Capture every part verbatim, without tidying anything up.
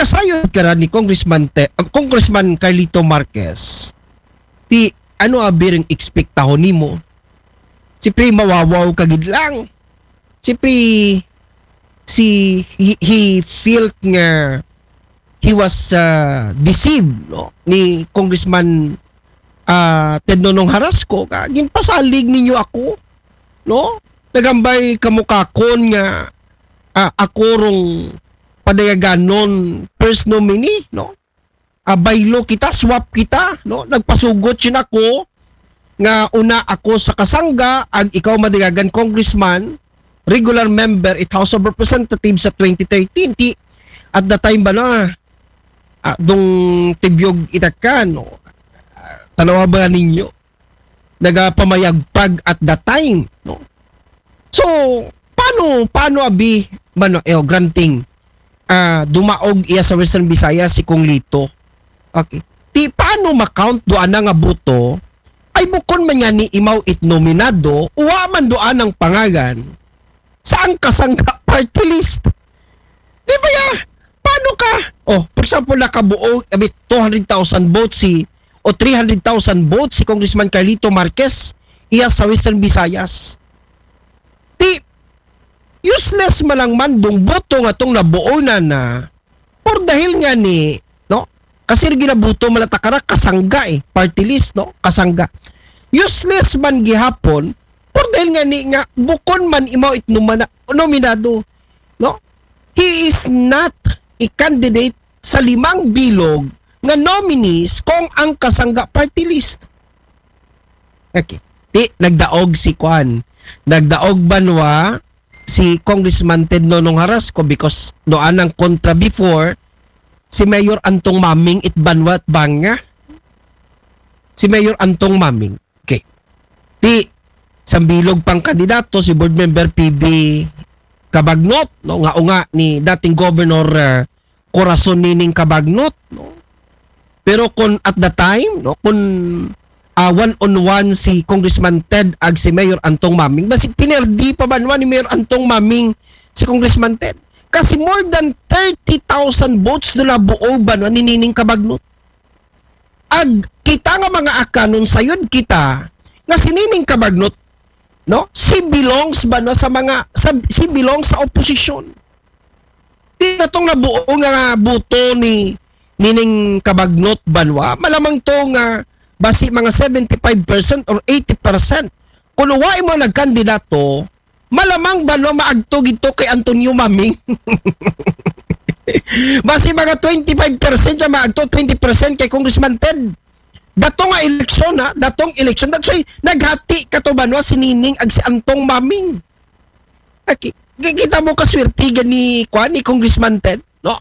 sayod ka ra ni Congressman Te, uh, Congressman Carlito Marquez, ti ano abi ring ekspektahon nimo? Siyempre, mawawaw ka gid lang. Siyempre, si, he, he felt nga he was uh, deceived, no, ni Congressman uh, Ted Nonong Harasco, ka ginpasalig ninyo ako, no? Nagambay kamo kakon nga uh, ako rong padayaganon first nominee, no? Uh, baylo kita, swap kita, no? Nagpasugot siya ako nga una ako sa kasangga, ag ikaw madaygan congressman, regular member it House of Representatives sa twenty thirteen. Ti, at the time ba na, ah, dong tibyog itakan, no? Ah, tanawa ba ninyo? Nagapamayagpag at the time, no? So, paano, paano abi, mano, eh, granting, ah, dumaog iya sa Western Visayas si Kong Lito? Okay. Ti, paano ma-count do ana nga boto? Ay bukon man nga ni imaw it nominado, uwa man do anang pangalan sa ang kasangga party list. Di ba ya? Paano ka? Oh, for example, nakabuo, abit two hundred thousand votes si, o three hundred thousand votes si Congressman Carlito Marquez, iya sa Western Visayas. Ti, useless man lang man dong boto nga tong nabuo na na, por dahil nga ni, no? Kasi ginabuto malatakara, kasangga eh, party list, no? Kasangga. Useless man gihapon, por dahil nga ni nga, bukon man imaw it numana-, nominado, no? He is not a candidate sa limang bilog nga nominees kung ang kasangga party list. Okay. Ti, nagdaog si Kwan. Nagdaog banwa si Congressman Ted Nonong Harasco because doon ang kontra before si Mayor Antong Maming it banwa at banga. Si Mayor Antong Maming. Okay. Ti, sambilog pang kandidato si Board Member P B Cabagnot, no, nga unga ni dating Governor uh, Corazon Nining Cabagnot, no. Pero kung at the time, no, kung uh, one on one si Congressman Ted ag si Mayor Antong Maming, basi pinerdi pa banwa ni Mayor Antong Maming si Congressman Ted. Kasi more than thirty thousand votes do nabuo banwa ni Nining Cabagnot. Ag kita nga mga Akanons, sayod kita nga si Nining Cabagnot, no? She belongs ba na sa mga sa, she belongs sa oposisyon. Ti na tong nabuo nga buto ni Nining Cabagnot banwa, malamang to nga basi mga seventy-five percent or eighty percent. Kung wa imo nagkandidato, malamang ba no maagto gito kay Antonio Maming? Basi mga twenty-five percent siya maagto, twenty percent kay Congressman Ted. Dato nga eleksyon, ha? Datong eleksyon. That's why naghati ka to banwa si Nining ag si Antong Maming. Okay. Kita mo kaswerte gani kwa ni Congressman Ted, no?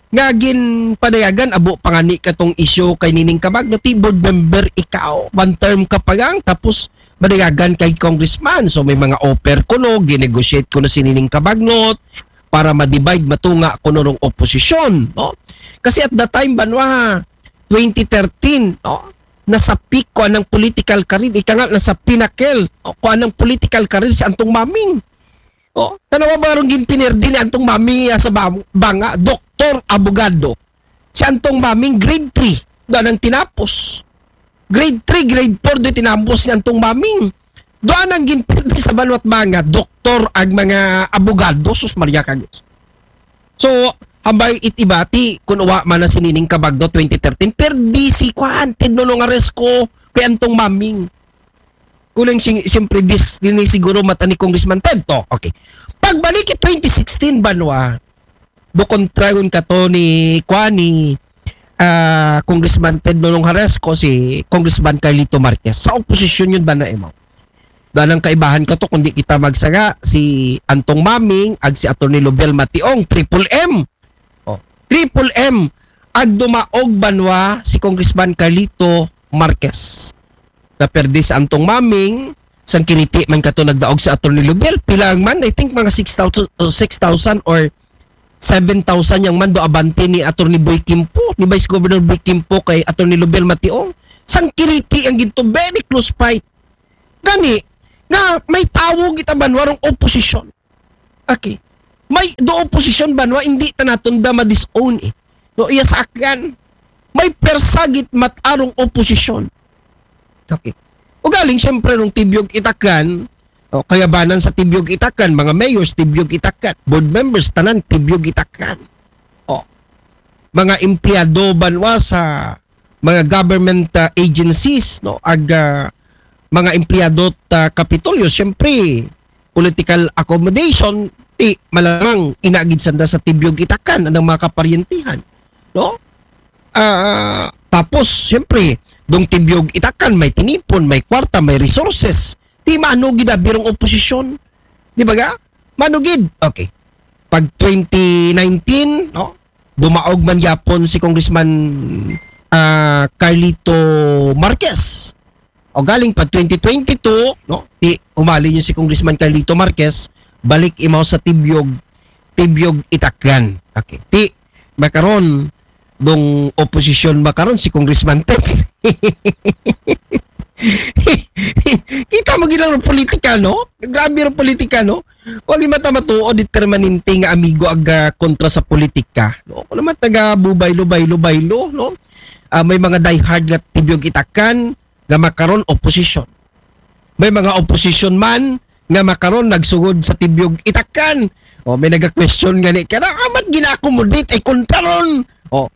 Nga ginpadayagan abo pangani katong isyu kay Nining Cabagnot, ti board member ikaw, one term ka pa lang, tapos madayagan kay congressman. So may mga offer kuno, ginegotiate kuno si Nining Cabagnot para ma-divide, matunga kuno rong oposisyon, no? Kasi at that time banwa, twenty thirteen, no? Nasa peak ko anang political career, ika nga nasa pinnacle ko anang political career si Antong Maming. Oh, tanawa ba rong ginpinerdi ni Antong Maming ya sa banga, doktor, abogado. Si Antong Maming grade three do anang tinapos. Grade three, grade four do tinapos ni Antong Maming. Do anang ginpinerdi sa banwat banga, doktor ag mga abogado, sus Maria ka Diyos. So, hambay it ibati, kung uwa man na si Nining Cabagnot twenty thirteen, perdi si Kwan, Ted Nonong Aresco, kay Antong Maming. Kuling sing, siyempre, dis, din siguro mata ni Congressman Ted to. Okay. Pagbalik it twenty sixteen, banwa, do kontrayon ka to ni, kwa ni, ah, Congressman Ted Nonong Haresco, si Congressman Carlito Marquez. Sa oposisyon yun ba na imo? Danang kaibahan ka to, kundi kita magsaga, si Antong Maming, ag si Attorney Lubel Mationg, triple M. Oh, triple M. Ag dumaog banwa si Congressman Carlito Marquez. Naperde si Antong Maming, sang kiriti man kato nagdaog si Attorney Lubel, pilang man, I think mga six thousand, uh, six thousand or seven thousand yang man do abante ni Attorney Boy Kimpo, ni Vice Governor Boy Kimpo kay Attorney Lubel Mationg. Sang kiriti ang ginto, very close fight. Gani, nga may tawag ita banwa rong oposisyon. Okay. May do oposisyon banwa, hindi ta naton da ma-disown eh. No, iya sa akyan, may persagit matarong oposisyon. Okay. O galing, siyempre, rong Tibyog Itakan, o kayabanan sa Tibyog Itakan, mga mayors, Tibyog Itakan, board members, tanan, Tibyog Itakan. O, mga empleyado banwa sa mga government uh, agencies, no, ag uh, mga empleyado ta uh, Kapitolyo, siyempre, political accommodation, ti malamang inagid sanda sa Tibyog Itakan ang mga kaparyentihan, no? Uh, tapos, siyempre, dong Tibyog Itakan, may tinipon, may kwarta, may resources. Ti mano gidabirong oposisyon. Di ba ga? Mano gid? Okay. Pag twenty nineteen, no? Dumaog man yapon si Congressman uh, Carlito Marquez. O galing pa twenty twenty-two, no? Ti umali niyo si Congressman Carlito Marquez, balik imaw sa Tibyog, Tibyog Itakan. Okay. Ti makaron dong oposisyon makaron si Congressman Ted. Kita mo gilang politika, no? Grabe ang politika, no? Wag mata matuod it permanente nga amigo aga kontra sa politika, no? Kung naman taga bubaylo, baylo, baylo, no? Uh, may mga diehard nga Tibyog Itakan, nga makaron oposisyon. May mga oposisyon man nga makaron nagsugod sa Tibyog Itakan. O, may naga-question nga ni, kaya amat gina-accommodate ay kontraron. O,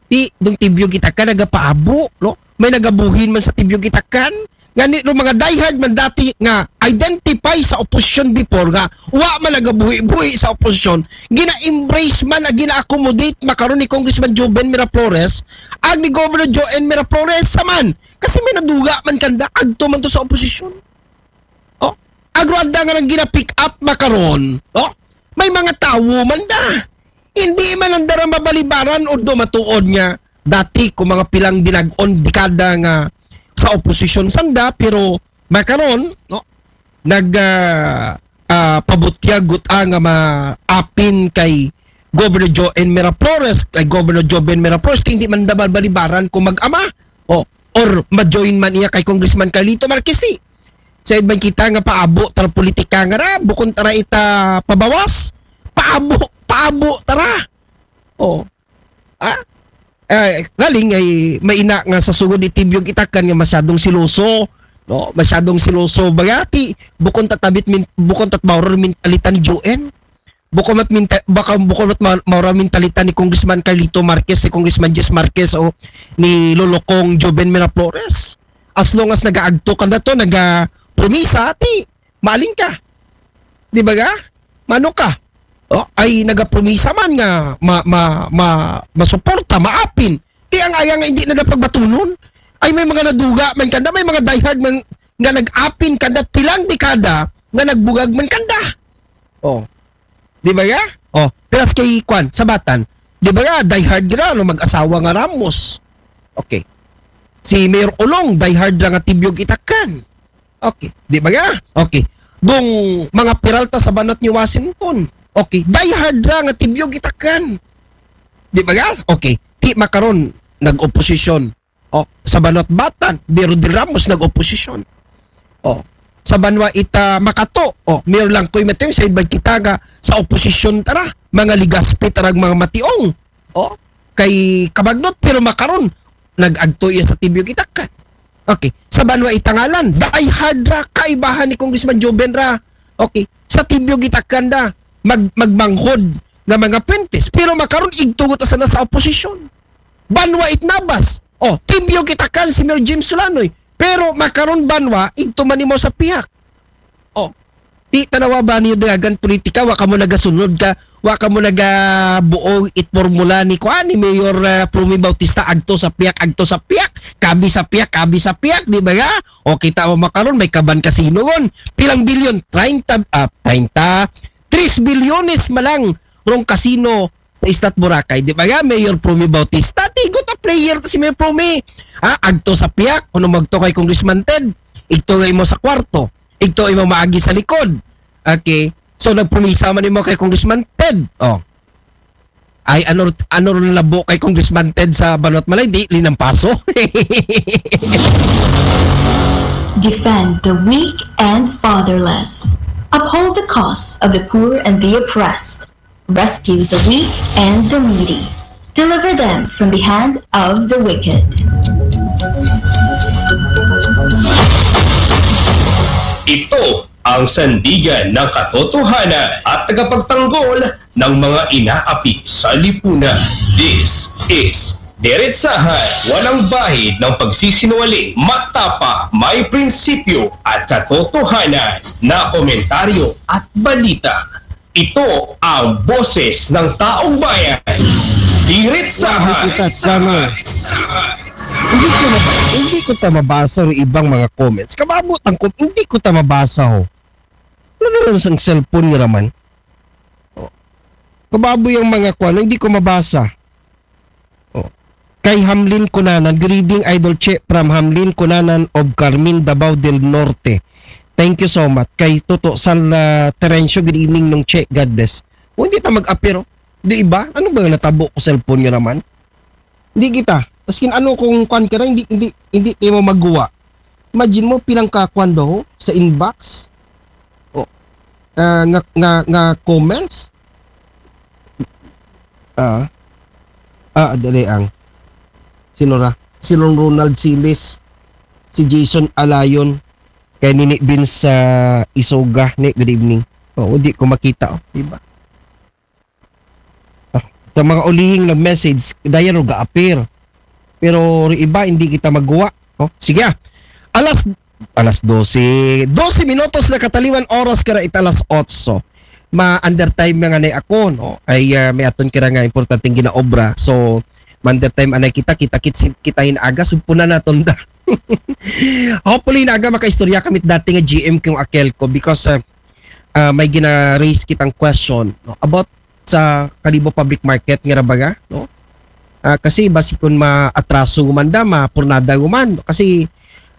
ti, dong Tibyog Itakan nagapaabo, no? May nagabuhin man sa Tibyog Itakan. Nga ni, mga diehard man dati nga identify sa oposisyon before nga wa man nagabuhi-buhi sa oposisyon, gina-embrace man, gina-accommodate makaron ni Congressman Joven Miraflores, ag ni Governor Joven Miraflores sa man. Kasi may naduga man kanda, agto man to sa oposisyon. O, agro anda nga nang gina-pick up makaron, no? May mga tawo man da. Hindi man ang dara mabalibaran o do matuod nga dati ko mga pilang dinag-on dekada nga sa oposisyon sanda, pero makaron, no? Nag uh, uh, pabutya guta nga maapin kay Governor Joven Miraflores, kay Governor Joven Miraflores, hindi man da mabalibaran kung mag-ama. O, or ma-join man iya kay Congressman Carlito Marquez, ti. Sa iban kita nga paabo tara politika nga ra, bukon tara ita pabawas, paabo, paabo tara. O. Ah? Eh, galing ay maina nga sa sugod ni Tibyog Itakan nga masyadong siloso, no? Masyadong siloso bagati, bukon tatabit min, bukon tatbawrar mentalita ni Joven. Bukon mat minta, baka bukon mat ma, maura mentalita ni Congressman Carlito Marquez, si Congressman Jess Marquez o ni Lolokong Joven Miraflores. As long as nagaagto ka na to, naga promisa, ti, maling ka. Di ba ga? Mano ka? O, ay nagapromisa man nga ma, ma, ma, masuporta, maapin. Ti ang aya nga hindi na napagbatunon. Ay may mga naduga man kanda, may mga diehard man nga nag-apin kanda pilang dekada nga nagbugag man kanda. O. Di ba ya? O, pilas kay kwan, sabatan. Di ba ya, diehard gira, no, mag-asawa nga Ramos. Okay. Si Mayor Olong, diehard ra nga Tibyog Itakan. Okay. Di ba ya? Okay. Dong mga Peralta sa banat ni Washington. Okay. Diehard ra nga Tibyog Itakan. Di ba ya? Okay. Ti makaron, nag-oposisyon. O, sa banwat Batan, Mayor Dil Ramos nag-oposisyon. O, sa banwa ita Makato, o, Mayor Langkoy Mationg, sa iban kita nga sa oposisyon tara, mga Legaspi tarag mga Mationg. O, kay kabagnot, pero makaron, nag-agto iya sa Tibyog Itakan. Okay, sa banwa ita Ngalan, diehard ra, kaibahan ni Congressman Joven ra. Okay, sa Tibyog Itakan da, mag, magmanghod nga mga puentes. Pero makaron, igtugot asa na sa oposisyon. Banwa it Nabas. O, Tibyog Itakan si Mayor James Sulanoy. Pero makaron banwa, igto man imo sa pihak. O, ti tanawa ba niyo dagan politika, wa kamo nagasunod ka, wa kamo nagabuo it formula ni kuan ni Mayor uh, Promy Bautista, agto sa pihak, agto sa pihak, kabi sa pihak, kabi sa pihak, di ba ga? O kita mo makaron, may kaban kasino gon. Pilang bilyon? treinta, ah, treinta, tres bilyones malang rong kasino sa Isla Boracay. Di ba nga, Mayor Promy Bautista? Tigot a player ta si Mayor Promy. Ha? Agto sa piyak, kuno magto kay Congressman Ted. Igto nga imo sa kwarto. Igto imo maagi sa likod. Okay. So, nagpromisa man imo kay Congressman Ted. O. Ay, ano, ano ron labo kay Congressman Ted sa Banwat Malay? Di, linampaso. Defend the weak and fatherless. Uphold the cause of the poor and the oppressed. Rescue the weak and the needy. Deliver them from the hand of the wicked. Ito ang sandigan ng katotohanan at tagapagtanggol ng mga inaapi sa lipunan. This is Diretsahan, walang bahid ng pagsisinungaling, matapang, may prinsipyo at katotohanan na komentaryo at balita. Ito ang boses ng taong bayan. Diretsahan. Kita, tama. Hindi ko mab- hindi ko ta mabasa ang ibang mga comments. Kababo tangkot, hindi ko ta mabasa ho. Ano na lang sang cellphone nga raman? Oh. Kababo yung mga kwan, hindi ko mabasa. Oh. Kay Hamlin Kunanan, greeting Idol Che from Hamlin Kunanan of Carmen, Davao del Norte. Thank you so much. Kay Toto Sal uh, Terencio, good evening nung Che. God bless. O, hindi ta mag-apir, oh. Di iba? Ano ba yung natabo ko cellphone nga raman? Hindi kita. Askin ano kung kwan ka na, hindi, hindi, hindi tayo mo magawa. Imagine mo, pilang kakwan daw sa inbox. O, ah, nga, nga, nga comments. Ah, ah, dali ang. Sino ra? Si Ron Ronald Silis, si Jason Alayon, kay Nini Vince sa Isoga. Ni, good evening. Oh, di ko makita, oh, di ba? Ah, sa mga ulihing nag-message, dayan ro ga-appear. Pero ri iba, hindi kita magawa. Oh, sige ah. Alas alas dose. Dose minutos na kataliwan oras kara it alas otso. Ma-undertime na nga na ako, no? Ay ah, may aton kira nga importanteng ginaobra. So, ma-undertime anay kita, kita kit kita hin aga, sugpunan naton da. Hopefully, hin aga makaistorya kami dati nga G M kung akel ko because uh, uh, may gina-raise kitang question, no? About sa Kalibo Public Market nga rabaga, no? Ah, kasi basi kun maatraso man da, mapurnada man. Kasi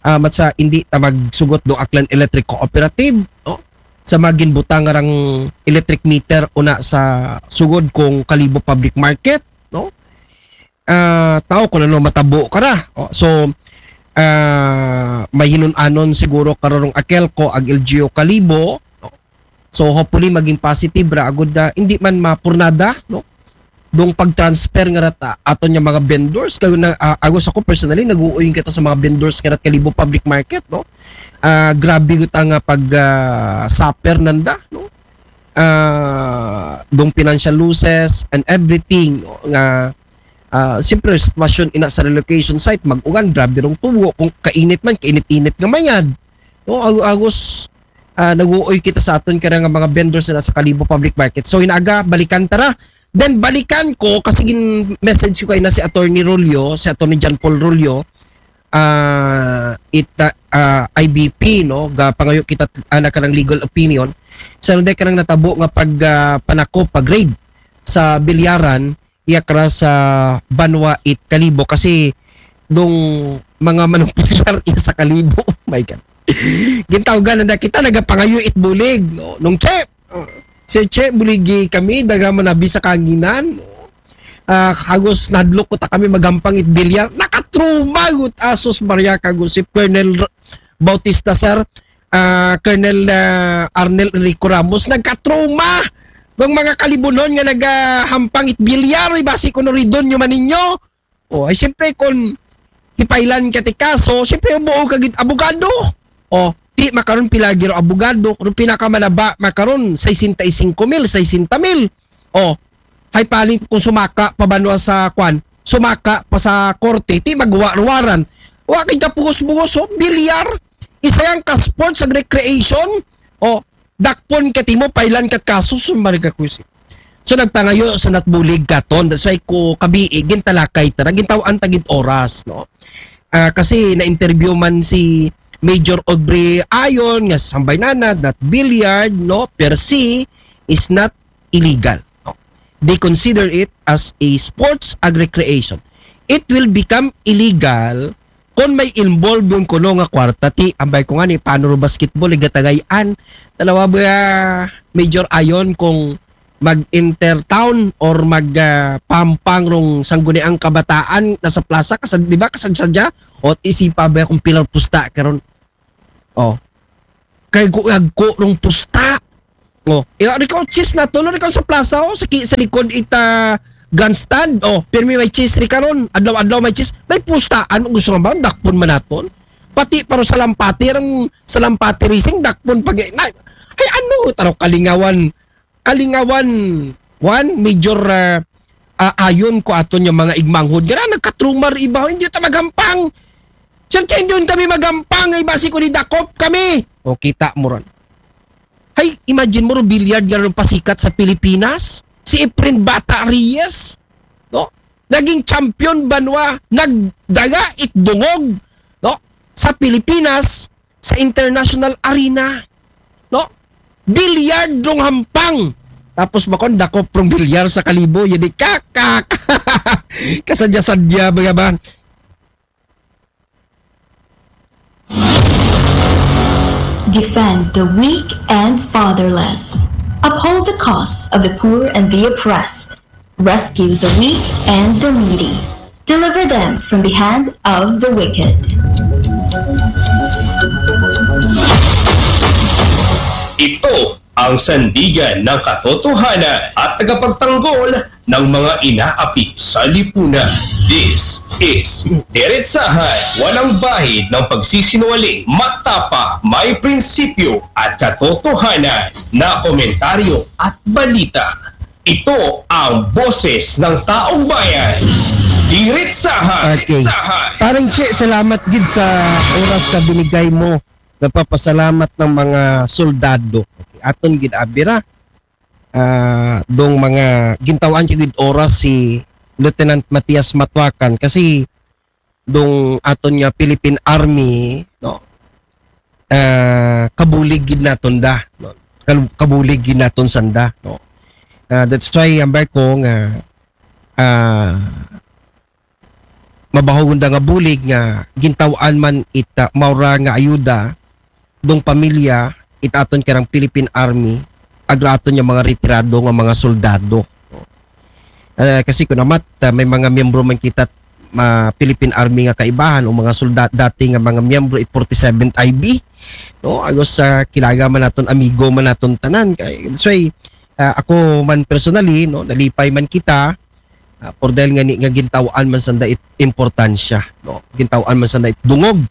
ah, mat sa hindi ta magsugot do Aklan Electric Cooperative, no? Sa maginbutang nga rang electric meter una sa sugod kung Kalibo Public Market, no? Ah, tao kung ano matabo ka na. Oh, so, ah, mahinun-anon siguro kararong akel ko ag L G U Kalibo, no? So hopefully maging positive ra agud na hindi man mapurnada, no? Dong pag-transfer nga rat aton nga mga vendors kayo na uh, agos ako personally nag-uuy kita sa mga vendors nga rat Kalibo Public Market, no? Uh, grabe gud ang uh, pag uh, suffer nanda, no? Uh, dong financial losses and everything, no? Nga uh, siyempre sitwasyon ina sa relocation site, mag-ugan, grabe rong tubo, kung kainit man, kainit-init nga mayad, no? Ag- agos uh, nag-uuy kita sa aton kaya nga mga vendors na sa Kalibo Public Market. So inaga, balikan tara. Then balikan ko kasi gin message ko kay na si Attorney Rolio, si Attorney John Paul Rolio, uh, it uh, uh, I B P, no, ga pangayo kita uh, na kanang legal opinion. Sa nung kanang natabo nga pag uh, panako, pag raid sa bilyaran, iya kara sa banwa it Kalibo kasi dong mga manumpular iya sa Kalibo. My God. Gintawgan na kita nagapangayo it bulig, no? Nung Che, uh, Sir Che, buligi kami, daga manabi sa kanginan, no? Uh, hagos nadlok ko ta kami magampang it bilyar. Nakatruma gut asos Maria kagusip Colonel Bautista, sir. Uh, Colonel uh, Arnel Enrico Ramos, nagkatruma ng mga kalibunon nga nagahampang it bilyar, ibasi ko no ridon nyo maninyo. O, ay siyempre kung hipailan ka ti kaso, siyempre buo ka git abogado. O, ti makaron pilagi ro abogado, kung pinakamanaba makaron sesenta y cinco mil, sesenta mil. O, hay palit kung sumaka pa banwa sa kwan, sumaka pa sa korte, ti magwa warrant. Wa kay kapugos-bugos, o, bilyar, isa yan ka sports and recreation. O, dakpon ka timo, pailan kat kaso, sumari ka kusi. So nagpangayo sa natbulig katon. That's why ko kabi gintalakay tara, gintawan ta gid oras, no? Uh, kasi na-interview man si Major Aubrey Ayon nga sambay nana that billiard, no, per se is not illegal. No? They consider it as a sports and recreation. It will become illegal kung may involve yung kuno nga kwarta ti ambay ko nga ni paano ro basketball igatagayan. Tanawa ba Major Ayon kung mag-intertown or mag uh, pampang rong sangguniang kabataan na sa plaza kasad di ba kasad sadya o isipa ba kung pilar pusta karon. Oh. Kay guagko rong pusta. Oh, iya ikaw chis na to, ikaw sa plaza o sa, sa likod ita grandstand, o, pirmi may chess ri karon, adlaw-adlaw may chess, may pustaan, gusto nga ba, dakpon man naton. Pati paro salampati, ang salampati racing, dakpon pag, na, ay ano, taro kalingawan, kalingawan, one, major, ah, ah, ayon ko aton nga mga igmanghod. Nga na, nagkatrumar iba, hindi ta maghampang. Siyempre, hindi yun kami maghampang, ay basi ko ni dakop kami. O, kita mo ron. Hay, imagine mo ron, billiard nga ron pasikat sa Pilipinas. Si Efren Bata Reyes, no? Naging champion banwa, nagdaga it dungog, no? Sa Pilipinas, sa international arena, no? Billiard rong hampang. Tapos bakon, dakop rong bilyar sa Kalibo, yun di kakak. Kasadya-sadya, mga ba? Defend the weak and fatherless. Uphold the cause of the poor and the oppressed. Rescue the weak and the needy. Deliver them from the hand of the wicked. Ito ang sandigan ng katotohanan at tagapagtanggol ng mga inaapi sa lipunan. This is Diretsahan, walang bahid ng pagsisinungaling, matapa, may prinsipyo at katotohanan na komentaryo at balita. Ito ang boses ng taong bayan. Diretsahan. Okay. Diretsahan. Parang Che, salamat gid sa oras na binigay mo. Nagpapasalamat ng mga soldado. Okay. Aton gid abira. Ah, dong mga gintawan gid oras si Lieutenant Matias Matwakan kasi dong aton nga Philippine Army, no? Ah, kabulig gid naton da, no? Kal- Kabulig gid naton sanda, no? Ah, that's why ambar ko nga ah, mabahog da nga bulig nga gintawan man it ah, maura nga ayuda dong pamilya it aton karang Philippine Army, agra aton nga mga retirado nga mga soldado. Ah, kasi kun amat, ah, may mga miyembro man kita ma Philippine Army nga kaibahan o mga solda dati nga mga miyembro it forty-seventh I B, no? Agos sa kilaga man naton, amigo man naton tanan. Kay that's why ah, ako man personally, no, nalipay man kita, ah, por dahil nga ni nga gintawan man sanda it importansya, no? Gintawan man sanda it dungog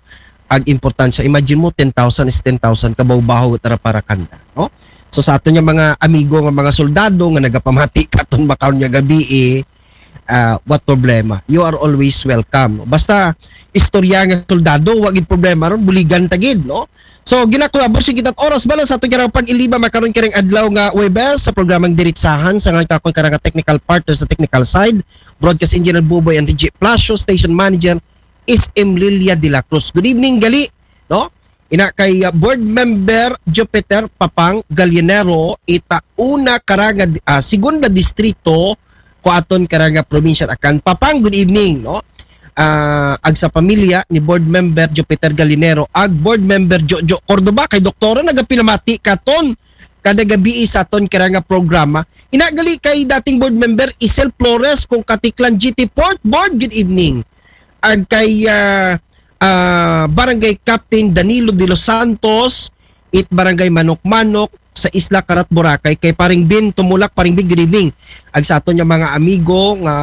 ag importansya. Imagine mo, ten thousand is ten thousand, kabaw-bahaw tara para kanda, no? So sa aton nga mga amigo nga mga soldado nga nagapamati katon makaron nga gabi, eh, ah, what problema? You are always welcome. Basta istorya nga soldado, wag gid problema ron, buligan ta gid, no? So, ginakuha, boss, yung kita't oras bala sa aton karang pag-iliba makaron karang adlaw nga Webes sa programang Diritsahan sa ngayon kakon karang technical partner sa technical side, broadcast engineer Buboy and D J Plasio, station manager is M Lilia de la Cruz. Good evening, gali, no? Ina kay uh, board member Jupiter Papang Gallinero, ita una karang uh, segunda distrito ko aton karang probinsya Akan. Papang, good evening, no? Ah, ag sa pamilya ni board member Jupiter Gallinero, ag board member Jojo Cordoba, kay doktora nagapinamati katon kada gabi sa aton karang programa. Ina gali kay dating board member Isel Flores kung Katiklan G T Port Board, good evening. Ag kay ah, ah, Barangay Captain Danilo de los Santos, it Barangay Manok-Manok sa Isla Carat, Boracay, kay Paring Bin Tumulak. Paring Bin, good evening. Ag sa aton nga mga amigo nga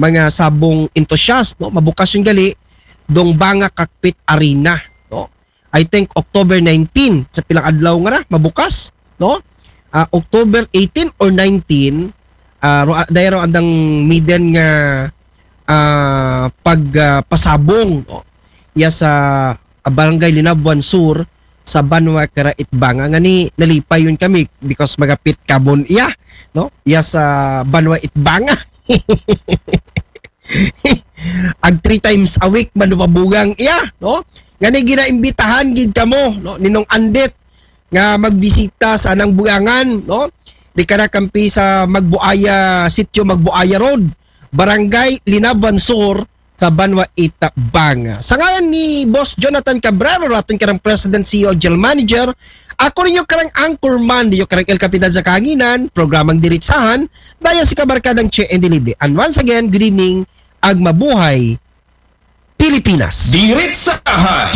mga sabong enthusiast, no? Mabukas yung gali dong Banga Cockpit Arena, no? I think October nineteen, sa pilang adlaw nga ra mabukas, no? Ah, October eighteen or nineteen, ah, ro, dayro andang miden nga ah, pag ah, pasabong, no? Iya sa ah, Barangay Linabuan Sur sa Banwa kara it Banga, nga ni nalipay yun kami because magapit kabon iya, no? Iya sa Banwa it Banga. Ag three times a week man mabugang iya, no? Nga ni ginaimbitahan gid kamo, no? Ninong Andit nga magbisita sa anang bugangan, no? Di ka na kampi sa Magbuaya, sitio Magbuaya Road, Barangay Linaban Sur, sa Banwa Itabanga. Sa ngalan ni Boss Jonathan Cabrero, raton karang President, C E O, General Manager, ako rin yung karang anchorman, yung karang El Capitan sa Kahanginan, programang Diritsahan, daya si Kabarkadang Che and Dilibre. And once again, good evening, ag mabuhay, Pilipinas. Diritsahan.